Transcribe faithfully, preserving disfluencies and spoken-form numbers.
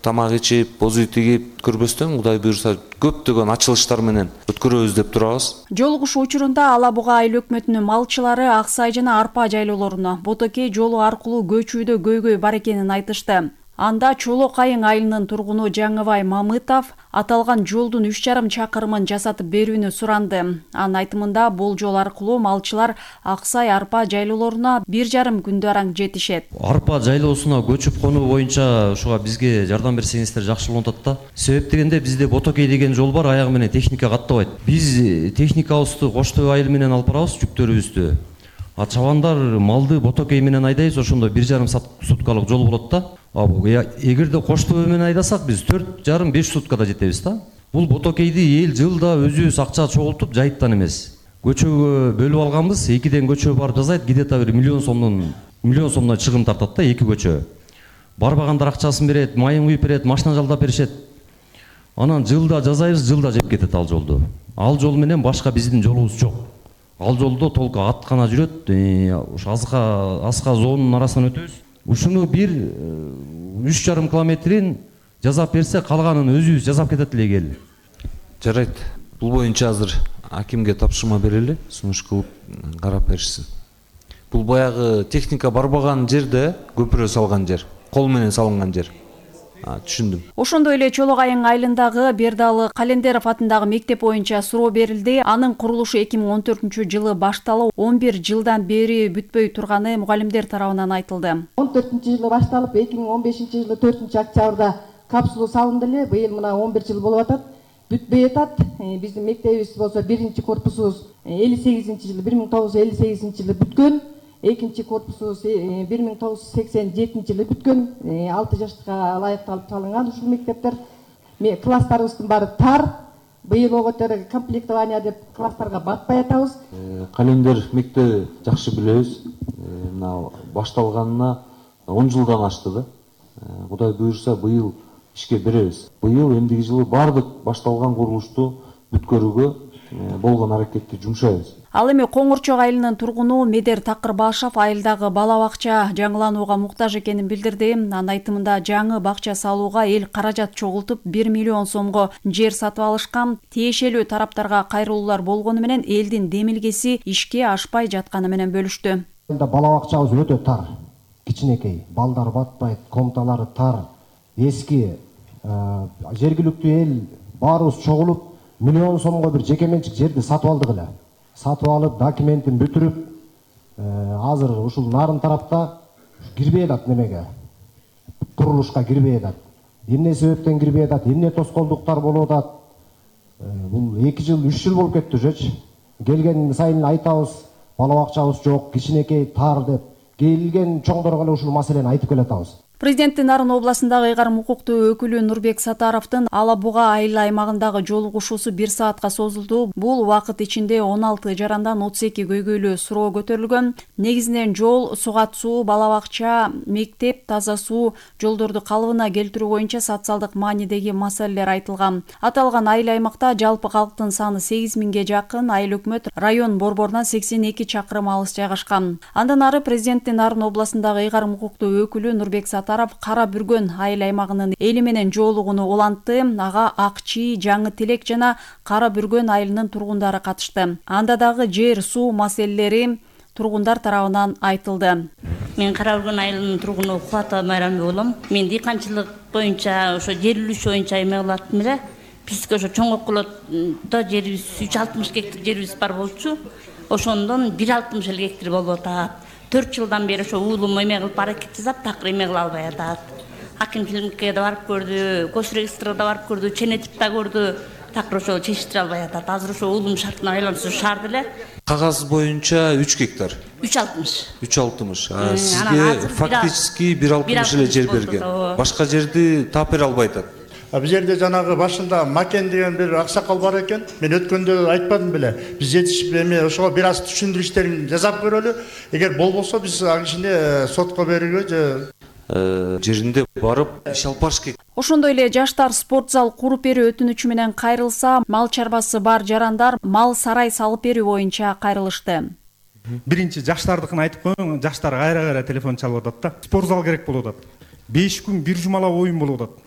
тамак ичип, бозүй тигип көрбөстөн Кудай буйрса көптөгөн ачылыштар менен өткөрөбүз деп турабыз. Жолугушуу учурунда Ала Буга айыл өкмөтүнүн малчылары Ак Сай жана Арпа жайлоолоруна Ботокей жолу аркылуу көчүүдө көйгөй бар экенин айтышты. Анда Чолок айыл айылынын тургуну Жаңыбай Мамытов аталган жолдун үч жарым чакырымын жасатып берүүнү суранды. Анын айтымында бул жол аркылуу малчылар Ак Сай Арпа жайлоолоруна бир жарым күндө араң жетишет. Арпа жайлоосуна көчүп конуу боюнча ушуга бизге жардам берсеңиздер жакшы болот да. Себеп дегенде бизде Ботокей деген жол бар, аягы менен техника каттабайт. Биз техникабызды Коштөө айыл менен алып барабыз, жүктөрүбүздү. А чабандар малды Ботокей менен айдайбыз, ошондо бир жарым суткалык жол болот да. Эгерде Коштөө менен айдасак биз төрт жарым беш суткада жетебиз да. Бул Ботокейди эл жылда өзүбүз акча чогултуп жайыптан эмес. Көчөгө бөлүп алганбыз, экиден көчө барып жасайт, где-то бир миллион сомдон миллион сомдон чыгым тартат да эки көчө. Барбагандар акчасын берет, майын куюп берет, машина жалдап беришет. Анан жылда жасайбыз, жылда жеп кетет ал жолду. Ал жол менен башка биздин жолубуз жок. Ал жолдо толку ат гана жүрөт, ушу азга аска зоонун арасынан өтөбүз. Ушуну бир үч жарым километрин жасап берсе, калганын өзүбүз жасап кетет элек эл. Жарайт. Бул боюнча азыр акимге тапшырма берели, сунуш кылып карап беришсин. Бул баягы техника барбаган жерде көпүрө салган жер, кол менен салынган жер. Түшүндүм. Ошондой эле Чолок айыл айылындагы Бердалы Календеров атындагы мектеп боюнча суроо берилди. Анын курулушу эки миң он төртүнчү жылы башталып, он бир жылдан бери бүтпөй турганы мугалимдер тарабынан айтылды. он төртүнчү жылы башталып, эки миң он бешинчи жылы төртүнчү октябрда капсула салынды эле. Быйыл мына он бир жыл болуп атат. Бүтпөй атат. Биздин мектебибиз болсо биринчи корпусубуз элүү сегизинчи жылы бир миң тогуз жүз элүү сегизинчи жылы бүткөн. Экинчи корпусубуз бир миң тогуз жүз сексен жетинчи жылы бүткөн. алты жаштыкка ылайыкталып салынган ушул мектептер. Класстарыбыздын баары тар. Быйыл оготер комплектование деп класстарга батпай атабыз. Календер мектеби жакшы билебиз. Мына башталганына он жылдан ашты да. Кудай буйрса быйыл ишке беребиз. Быйыл эмдиги жылы бардык башталган курулушту бүткөрүүгө болгон аракетти жумшайбыз. Ал эми Коңурчок айылынын тургуну Медер Такырбашев айылдагы бала бакча жаңыланууга муктаж экенин билдирди. Анын айтымында жаңы бакча салууга эл каражат чогултуп бир миллион сомго жер сатып алышкан. Тиешелүү тараптарга кайрылуулар болгону менен элдин демилгеси ишке ашпай жатканы менен бөлүштү. Бала бакчабыз өтө тар, кичинекей, балдар батпайт, комнаталары тар, эски. Жергиликтүү эл баарыбыз чогулуп миллион сомго бир жеке менчик жерди сатып алдык эле. Сатып алып, документин бүтүрүп, азыр ушул нарын тарапта кирбей атат немеге. Курулушка кирбей атат. Эмне себептен кирбей атат, эмне тоскоолдуктар болуп атат. Бул эки жыл, үч жыл болуп кетти уже. Келген сайын айтабыз, бала бакчабыз жок, кичинекей, тар деп. Келген чоңдорго эле ушул маселени айтып келатабыз. Президенттин Нарын областындагы ыйгарым укуктуу өкүлү Нурбек Сатаровдун Ала Буга айыл аймагындагы жолугушуусу бир саатка созулду. Бул убакыт ичинде он алты жарандан отуз эки көйгөйлүү суроо көтөрүлгөн. Негизинен жол, сугат суу, бала бакча, мектеп, таза суу, жолдорду калыбына келтирүү боюнча социалдык маанидеги маселелер айтылган. Аталган айыл аймакта жалпы калктын саны сегиз миңге жакын, айыл өкмөт район борборунан сексен эки чакырым алыс жайгашкан. Андан ары президенттин Нарын областындагы ыйгарым укуктуу өкүлү Нурбек Сатаров Кара Бүргөн айыл аймагынын эли менен жолугууну улантты. Ага Акчи, Жаңы Тилек жана Кара Бүргөн айылынын тургундары катышты. Анда дагы жер, суу маселелери тургундар тарабынан айтылды. Мен Кара Бүргөн айылынын тургуну Кубата Майрамбек болом. Мен дыйканчылык боюнча ошо жер үлүшү боюнча эме кылат эле. Бизге ошо чоң окулотто жерибиз үч жүз алтымыш гектар жерибиз бар болчу. Ошондон бир жүз алтымыш гектар болуп атат. төрт жылдан бери ошо уулум эме кылып аракет жасап, такыр эме кыла албай атат. Акимчиликке да барып көрдү, госрегистрга да барып көрдү, ченетип да көрдү, такыр ошо чечиштире албай атат. Азыр ошо уулум шартына айланышып шаарды эле. Кагаз боюнча үч гектар. үч жүз алтымыш. үч жүз алтымыш. Сизге фактически бир жүз алтымыш эле жер берген. Башка жерди таап бере албай атат. Биз жерде жанагы башында Макен деген бир аксакал бар экен. Мен өткөндө айтпадым беле. Биз жетишип эме ошого бир аз түшүндүрүү иштерин жасап көрөлү. Эгер болбосо биз аны ичинде сотко берүүгө же жеринде барып иш алып барыш керек. Ошондой эле жаштар спорт зал куруп берүү өтүнүчү менен кайрылса, мал чарбасы бар жарандар мал сарай салып берүү боюнча кайрылышты. Биринчи жаштардыкын айтып коеюн, жаштар кайра-кайра телефон чалып атат да. Спорт зал керек болуп атат. беш күн бир жумалап оюн болуп атат.